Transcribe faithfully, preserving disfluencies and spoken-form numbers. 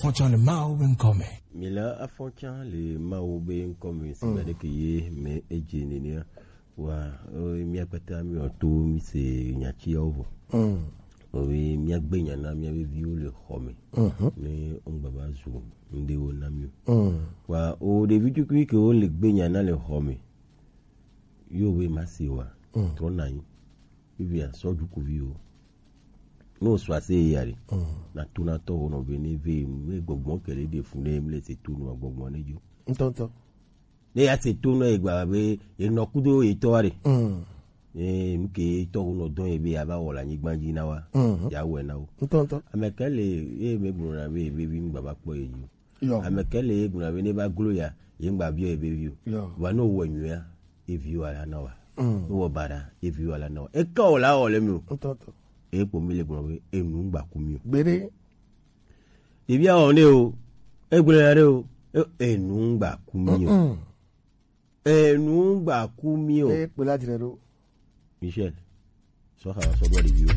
Fɔtsɔ le Mawu be ŋkɔ me. Mi le afɔtsɔ le Mawu be ŋkɔ me, si gbe ɖeke ye me edze nenea. Wa, eh, mía kpata mi wɔ to mi se nya tsiawo vɔ. Mm. Owe mía gbe nya na mía be viwo le xɔ me. Mhm. Ne ŋgba va zu ŋɖewo na mi o. Mm. Wa, o ɖevi tukui ke wo le gbe nya na le xɔ me. Yo we ma se wa. Mm. Trɔ na yi. Vivia sɔ dukuvi o. Ne wòsɔ ase yi ya ɖe, mm, nàto na tɔwò nɔ be ne ve ne gbɔgbɔ ke le ɖe fu ne mle se to nua gbɔgbɔ ne dzo. Ŋutɔŋutɔ. Ne ya se to nɔ yi gba be enɔ kudo etɔ wa ɖe. Mm. Ne nu ke etɔ wo nɔ dɔn ye be ya va wɔ le anyigba dzi na wa. Mm. Ya wɔe na wo. Ŋutɔŋutɔ. Ame ke le ye me gblɔ na be ye vevi ŋgba va kpɔ ye dzi. Yɔ. Ame ke le ye gblɔ na be ne va glo ya ye ŋgba biɔ ye vevi o. Yɔ. Wa ne wɔ nyuia ye vi wa la na wa. Mm. Ne wɔ baɖa ye vi wa la na wa. Eka wɔ la wɔ le mi o. Ŋutɔŋutɔ. Eye kpo mi le gblɔ be enu ŋgba ku mi o. Gbeɖe. Ɖevia wɔ ne o, egblɔ ya ɖe o, e- enu ŋgba ku mi o. Mm-mm. Enu ŋgba ku mi o. Eye kpe la dzre ɖo. Michel, sɔ xa sɔ bɔ ɖeviwo.